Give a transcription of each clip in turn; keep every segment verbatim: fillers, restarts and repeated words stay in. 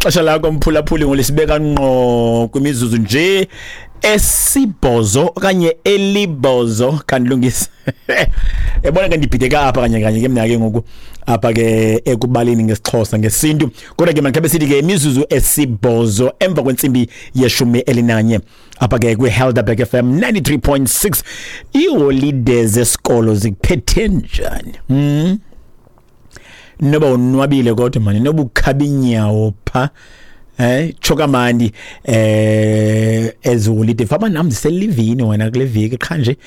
Xesha lakho, mphulaphuli, ngolisibeka ngqo kwimizuzu nje esibhozo okanye elibhozo. Kandilungisa, yabona ke, ndibhideka apha kanye kanye ke mna ke ngoku apha ke ekubaleni ngesiXhosa, ngesintu. Kodwa ke mandikhabe sithi ke imizuzu esibhozo emva kwentsimbi yeshumi elinanye apha ke kwi-Helderberg F M ninety-three point six. Iiholide zesikolo zikuphethe njani hmm? Noba unwabile kodwa mani, noba ukhaba inyawo pha, eh tsho kamandi eh eziholide. Faba nam ndiselivini wena kule veki, qha nje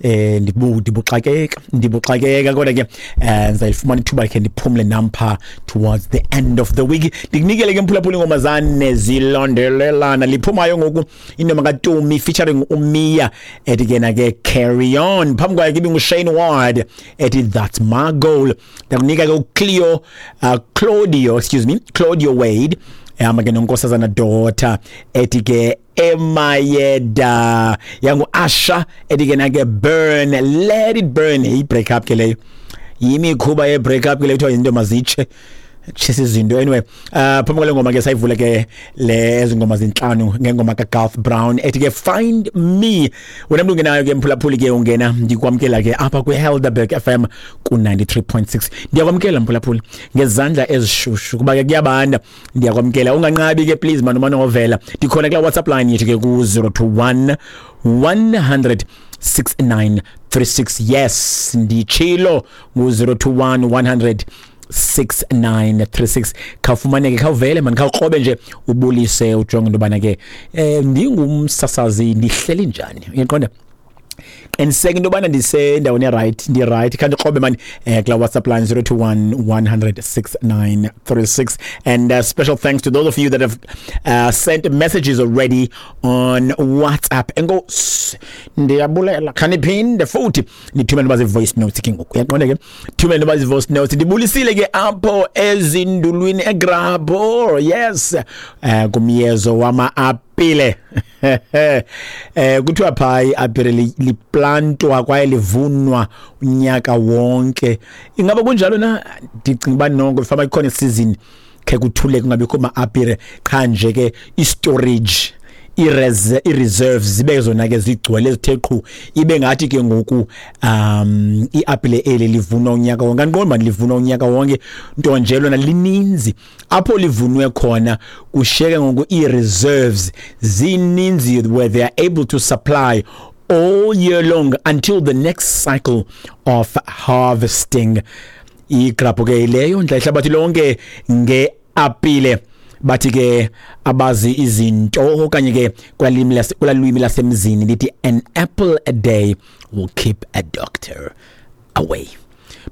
eh ndibu ndibuxakeka ndibuxakeka kodwa ke eh ndizayifumana ithuba khe ndiphumle nam pha towards the end of the week. Ndikunikele ke, mphulaphula, ingoma zane zilandelelana. Liphumayo ngoku ingoma kaTumi featuring uMia ethi ke na ke "Carry On". Phambi kwayo ke ibinguShane Ward ethi "That's My Goal". Ndakunika ke uCleo, uh, Claudio, excuse me, Claudio Wade ehamba ke noNkosazana Daughter ethi ke "Emayeda". Yangu Asha ethi ke na ke "Burn, Let It Burn". I break up ke leyo, yimikhuba ye break up ke leyo, kuthiwa izinto mazitshe, tshisa izinto. Anyway, uh phambi kwale ngoma ke sayivule ke le ezingoma zinhlanu ngengoma kaGarth Brown ethi ke "Find Me". Wena mntu ungenayo ke, mphulaphuli, ke ungena, ndikwamkela ke apha kwiHelderberg F M ku ninety-three point six. Ndiyakwamkela, mphulaphuli, ngezandla ezishushu kuba ke kuyabanda. Ndiyakwamkela, unganqabi ke please man, umane ovela. Ndikhona kula WhatsApp line yethu ke ku zero two one one hundred six nine three six. Yes, nditshilo, ngu zero two one one hundred six nine three six. Khawufumaneke, khawuvele mani, khawukrobe nje, ubulise, ujonge into yobana ke eh ndingumsasazi ndihleli njani, uyaqonda? Qiniseka into yobana ndisendaweni e-right, ndi-right. Khandiqobe mani eh kula WhatsApp line zero two one one hundred six nine three six. And uh, special thanks to those of you that have uh, sent messages already on WhatsApp. Enkosi, ndiyabulela. Khaniphinde futhi nithumele noba zii-voice notes ke ngoku, uyaqonda ke? Thumele noba zii-voice notes. Ndibulisile ke apho ezindulwini eGrabho, yes, eh kumyezo wama-apile. eh kuthiwa phaa iapile liplantwa kwaye livunwa unyaka wonke. Ingaba kunjalo na? Ndicinga uba noko fama ikhona isizini khe kuthule kungabikho ma-apile, qha nje ke i-storage, i-reserves zibe zona ke zigcwele zithe qhu, ibe ngathi ke ngoku um iapile eli livunwa unyaka wonke. Andiqondi mani livunwa unyaka wonke, nto nje lona lininzi apho livunwe khona, kushiyeke ngoku ii-reserves zininzi where they are able to supply all year long until the next cycle of harvesting. Igrapho ke leyo ndla ihlabathi lonke ngeapile. Bathi ke abazi izinto okanye ke kwalimi kulalwimi lasemzini lithi "An apple a day will keep a doctor away".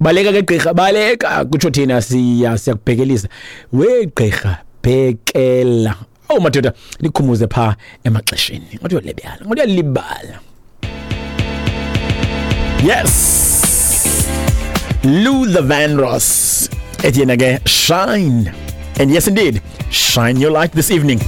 Baleka ke gqirha, baleka, kutsho thina siya siyakubhekelisa we gqirha, bhekela. Oh madoda, nikhumuze pha emaxesheni, ngathi uyalibala, ngathi uyalibala. Yes, Luther Vandross ethi yena ke "Shine". And yes indeed, shine your light this evening.